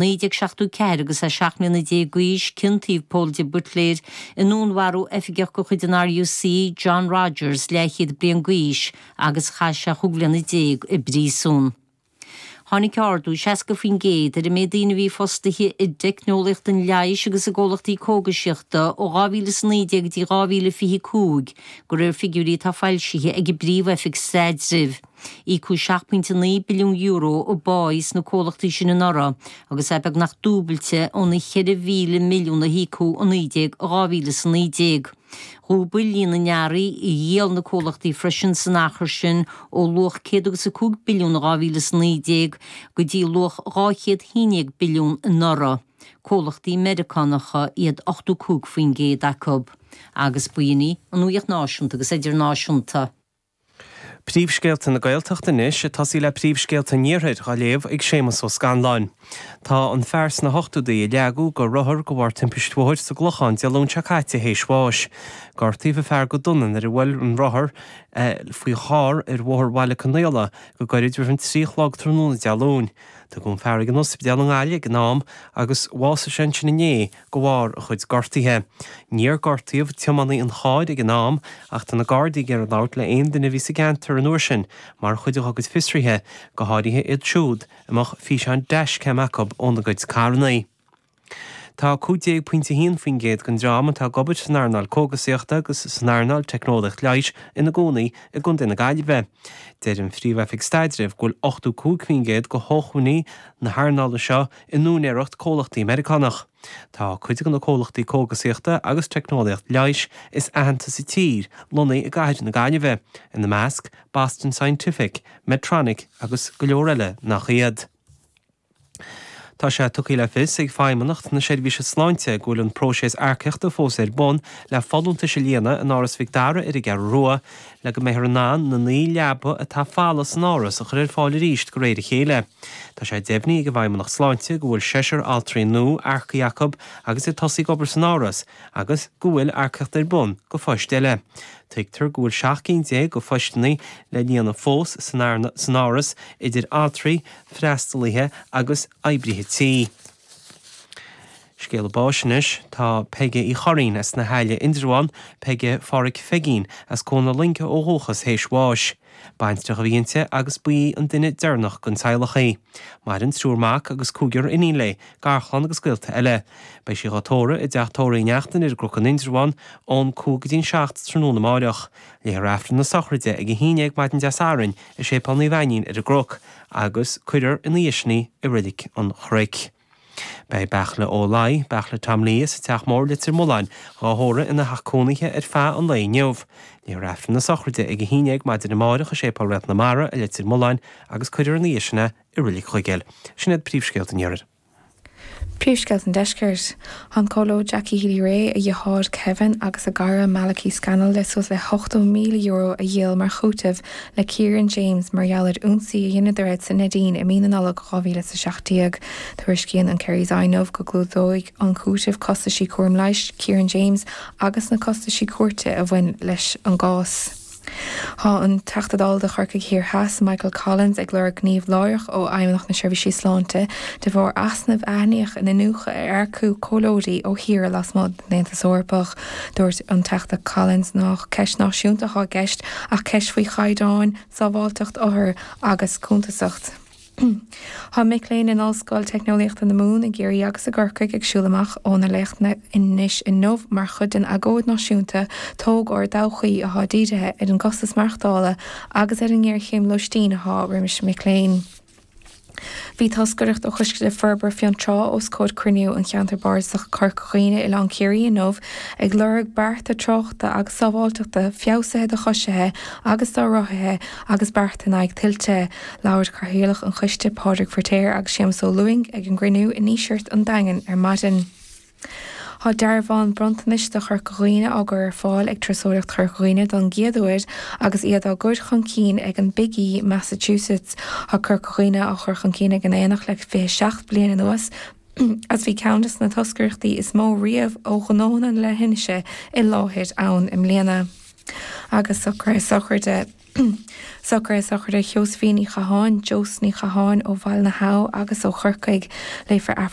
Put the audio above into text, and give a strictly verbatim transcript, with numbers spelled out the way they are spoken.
naoi déag seachtó ceathair agus é seacht mbliana déag d'aois, ciontaíodh Pól de Buitléir i ndúnmharú oifigeach de chuid an RUC, John Rogers, leathchéad bliain d'aois, agus chaith sé chúig bhliana déag i bpríosún. Tháinig ardú seasca faoin gcéad ar an méid daoine a bhí fostaithe i dteicneolaíocht an leighis agus i gcomhlachtaí cógaisíochta ó dhá mhíle is a naoi déag go dtí dhá mhíle fiche cúig, de réir figiúirí atá foilsithe ag an bPríomh-Oifig Staidrimh. Íocadh seacht pointe naoi billiún euro i bpá sna comhlachtaí sin anuraidh agus é beagnach dúbailte óna cheithre mhíle milliún a híocadh i naoi déag dhá mhíle is a naoi déag. Dhúbail líon na n-earraí a dhíol na comhlachtaí freisin san achar sin ó luach céad agus a cúig billiún in dhá mhíle is a naoi déag go dtí luach dhá chéad haon déag billiún anuraidh. Comhlachtaí Meiriceánacha iad ochtó cúig faoin gcéad acu. Agus b'in í an nuacht náisiúnta agus idirnáisiúnta. Príomhscéalta na Gaeltachta anois, ag tosaí le príomhscéalta an Iarthair, á léamh ag Séamus Ó Scanláin. Tá an fear sna hochtóidí a leagadh de rothar de bharr timpist bhóthair sa gClochán Dé Luain seo caite théis bháis. Gortaíodh an fear go dona nuair a bhuail an rothar faoi charr ar Bhóthar Bhaile Conaola go gairid roimh an trí a chlog tráthnóna Dé Luain. Tugadh an fear ag an ospidéal i nGaillimh ag an am agus bhásaigh sé ansin inné de bharr a chuid gortuithe. Níor gortaíodh tiománaí an chairr ag an am ach tá na Gardaí ag iarraidh labhairt le haon duine a bhí sa gceantar an uair sin mar chuid dá gcuid fiosruithe, go háirithe iad siúd a mbeadh físeáin dashcam acu óna gcuid carranna. Tá cúig déag pointe a haon faoin gcéad den dream atá ag obair san earnáil cógasaíochta agus san earnáil teicneolaíocht leighis ina gcónaí i gContae na Gaillimhe. Deir an Phríomh-Oifig Staidrimh go bhfuil ochtó cúig faoin gcéad de shócmhainní na hearnála seo in úinéireacht comhlachtaí Meiriceánach. Tá cuid de na comhlachtaí cógasaíochta agus teicneolaíocht leighis is aitheanta sa tír lonnaithe i gcathair na Gaillimhe, ina measc Boston Scientific, Medtronic agus go leor eile nach iad. Tá sé tugtha le fios ag Feidhmeannacht na Seirbhíse Sláinte go bhfuil an próiseas earcaíochta fós ar bun le folúntais a líonadh in Áras Mhic Dara ar an gCeathrú Rua le go mbeifear in ann na naoi leaba atá folamh san áras a chur ar fáil arís de réir a chéile. Tá sé deimhnithe ag an bhFeidhmeannacht Sláinte go bhfuil seisear altraí nua earcaithe acu agus ag tosaí ag obair san áras agus go bhfuil earcaíocht ar bun do phoist eile. Tuigtear go bhfuil seacht gcinn déag de phoisteanna le líonadh fós san áras idir altraí, freastalaithe agus oibrithe tí. Scéala báis anois, tá Peige Uí Churraoin as na hAille, Indreabhán, Peige Pháraic Pheigín as Cuan na Loinge ó dhúchas théis bháis. Baintreach a bhí inti agus ba í an duine deireanach den teaghlach í. Maireann triúr mac agus cúigear iníon léi, garchlann agus gaolta eile. Beidh sí dhá tórramh i dteach tórraimh Uí Neachtain ar an gCnoc in Indreabhán ón cúig go dtí an seacht tráthnóna amáireach. Léifear Aifreann na sochraide ag a haon déag maidin Dé Sathairn i Séipéal Naomh Ainnín ar an gCnoc agus cuirfear ina dhiaidh sin í i Reilig an Chnoic. Beidh Beartla Ó Laoi, Beartla Tom Lee as an Teach Mór, Leitir Mealláin, dhá thórramh ina theach cónaithe ar feadh an lae inniu. Léifear Aifreann na sochraide ag a haon déag maidin amáireach i Séipéal Réalt na Mara i Leitir Mealláin agus cuirfear ina dhiaidh sin é i Reilig Chuigéil. Sin iad príomhscéalta an Iarthair. Príomhscéalta an Deiscirt. Tá an Comhairleoir Jackie Healy-Rae, a dheartháir Kevin agus a gcara Malachy Scannell le suas le hochtó míle euro a dhíol mar chúiteamh le Kieran James mar gheall ar ionsaí a dheineadar air sa Neidín i mí na Nollag dhá mhíle is a seacht déag. Tuairiscíonn an Kerry's Eye inniu go gclúdóidh an cúiteamh costaisí cúram leighis Kieran James agus na costaisí cúirte a bhain leis an gcás. Tá an Teachta Dála do Chorcaigh Thiar Theas, Michael Collins, ag lorg gníomh láithreach ó Fheidhmeannacht na Seirbhísí Sláinte de bharr easnaimh a aithníodh in iniúchadh ar earcú comhairleoirí ó thíortha lasmuigh den Aontas Eorpach. Dúirt an Teachta Collins nach ceist náisiúnta atá i gceist ach ceist faoi chaighdeáin, sábháilteacht othar agus cuntasacht. Tá mic léinn in Ollscoil Teicneolaíochta na Mumhan i gCiarraí agus i gCorcaigh ag siúl amach ó na léachtanna anois inniu mar chuid den agóid náisiúnta Tóg ár dTodhchaí atá dírithe ar an gcostas maireachtála agus ar an ngéarchéim lóistín atá roimis mic léinn. Bhí toscaireacht ó Choiste Forbartha Fionntrá os comhair cruinniú an Cheantair Bardasach Corca Dhuibhne, Oileán Ciarraí inniu ag lorg bearta tráchta agus sábháilteachta feabhsaithe do choisithe agus do rothaithe agus bearta in aghaidh tuilte. Labhair Cathaoirleach an Choiste, Pádraig Firtéar agus Séamus Ó Lúing ag an gcruinniú i nDíseart an Daingin ar maidin. Tá dearbháin bronntanais do Chorca Dhuibhne á gcur ar fáil ag Turasóireacht Chorca Dhuibhne don gcéad uair agus iad á gcur chun cinn ag an Big E Massachusetts. Tá Corca Dhuibhne á chur chun cinn ag an Aonach le fiche seacht bliain anuas agus bhí ceann de na toscaireachtaí is mó riamh ó ghnónna na leithinse i láthair ann i mbliana. Agus socruithe sochraide. Socruithe sochraide Sheosaimhín Ní Chatháin, Jós Ní Chatháin ó Bhaile na hAbha agus ó Chorcaigh léifear Aifreann